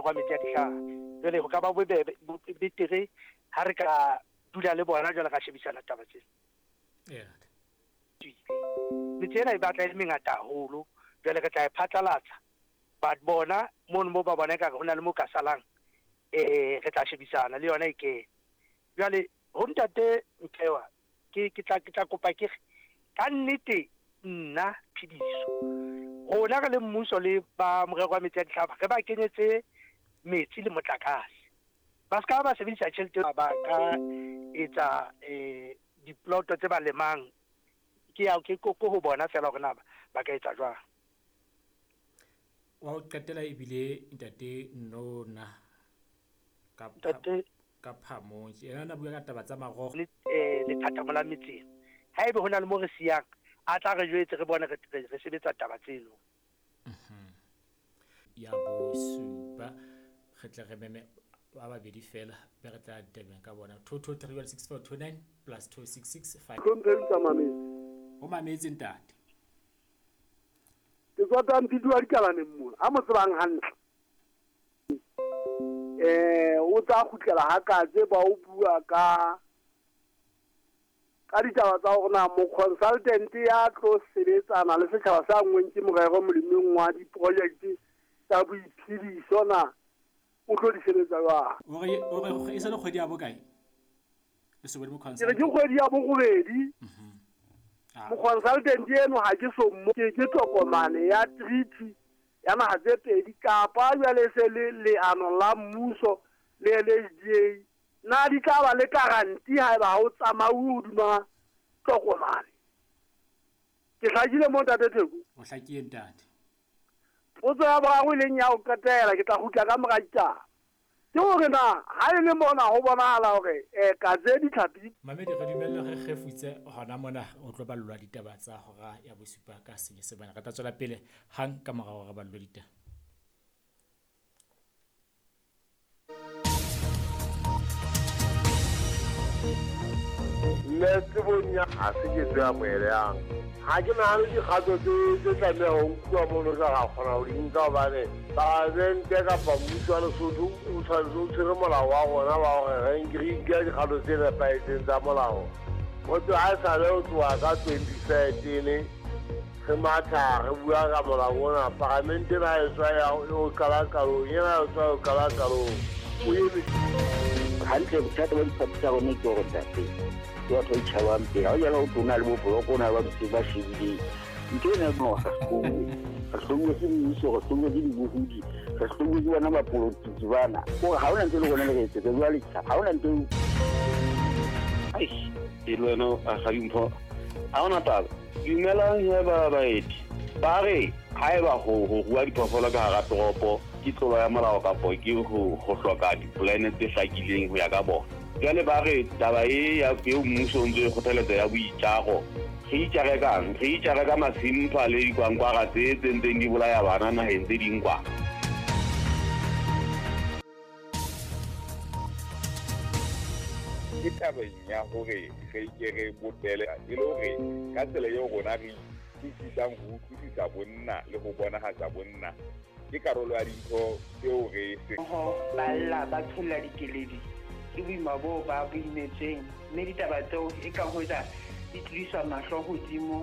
wa metsi a dihlaha. Jwale ho ka ba bobebe betere ha re ka dula le bona jwale ra shebisana taba tsena. Metse ena e batla e le mengata haholo, jwale re tla e phatlalatsa. But bona mono mo ba bona ekare ho na le mo ka salang, re tla shebisana le yona e kene. Jwale ho ntate Nkewa ke ke tla ke tla kopa ke re ka nnete nna Phediso rona re le mmuso le ba morero wa metsi a dihlaba re ba kenyetse metsi le motlakase. Ba ska ba sebedisa tjhelete ba ka etsa diploto tse ba lemang ke ya ke ko ho bona fela hore na ba ka etsa jwang. Wa ho qetela ebile ntate Nona ka Ntate ka Phamong. Yena na bua ka taba tsa marogo. Le lethathamo la metseng. Haebe ho na le mo re siyang, a tla re jwetse re bone re sebetsa taba tseno. Ya bosupa re tle re meme ba babedi fela be re tla ditabeng ka bona. 22316429 plus 2665. Hlomphehi tsa mametse. O mametse ntate. Ke tswa Tampidi wa Dikalaneng mona, a mo tsebang hantle. O tla kgutlela ha katse ba o bua ka ditaba tsa hore na mo-consultant ya tlo sebetsana le setjhaba sa nngweng ke morero molemong wa di-project tsa boiphediso na o tlo di sebetsa jwang. O re e sa le kgwedi ya bokae? Le se bone mo Ke re ke kgwedi ya borobedi. Mo-consultant eno ha ke so mo ke tokomane ya treaty ya naha tse pedi kapa jwale se le leano la mmuso le LHDA na di tla ba le guarantee haeba ha o tsamauwe hodima tokomane. Ke hlakile mo ntate Theko? O hlakile ntate. Potso ya boraro e leng ya ho qetela ke tla kgutla ka mora ditaba. Ke hore na ha e le mona ho bonahala hore katse ditlhapi. Mamedi re dumelle re kgefutse hona mona o tlo ballwa ditaba tsa hora ya bosupa ka Senyesemane. Re tla tswela pele hang ka morao re ballwe ditaba. Nne tsebong ya ha se ke tse amohelehang. Ha ke nahane dikgato tse tlameha ho nkuwa mono re ra kgona ho di nka hobane palamente kapa mmuso wa Lesotho o tshwanetse o tshwere molao wa rona wa hore re nke dikgato tse nepahetseng tsa molao. Ho tloha ha esale ho tloha ka 2013 re matha re bua ka molao ona, palamente ena e tswa ya ho qala qalong, ena e tswa ho qala qalong. O eme hantle. Bothata ba diphathi tsa rona ke hore ntate ke batho ba itjhabang pele. Ha o jala o tlo na le bo boloko, o na le ba ntse ba shebileng ntho ena. No, re hlouwe, re hlouwe ke mmuso, re hlouwe ke dibohodi, re hlouwe ke bona bapolotiki bana. Kore ha hona ntho e le rona le re etsetsa jwale, ha hona ntho. Eish, e le wena Rakgadimpho, ha hona taba. Dumelang he ba baeti. Ba re haeba ho rua diphoofolo ka hara toropo ke tlolo ya molao kapo ke ho hloka dipolane tse hlakileng ho ya ka bona. Jwale ba re taba e ya eo mmuso o ntso e kgothaletsa ya boitjaro. Re itjare kang? Re itjare ka masimpha le dikwankwara tse ntseng di bolaya bana naheng tse ding kwa. Ke tabeng ya hore re ke re bopele e le hore ka tsela eo rona re utlwisisang ho utlwisisa bonna le ho bonahatsa bonna ke karolo ya dintho tseo re se Ho ba lla ba tsholla dikeledi ke boima boo ba bo imetsweng, mme ditaba tseo eka hoja di tlodiswa mahlo hodimo.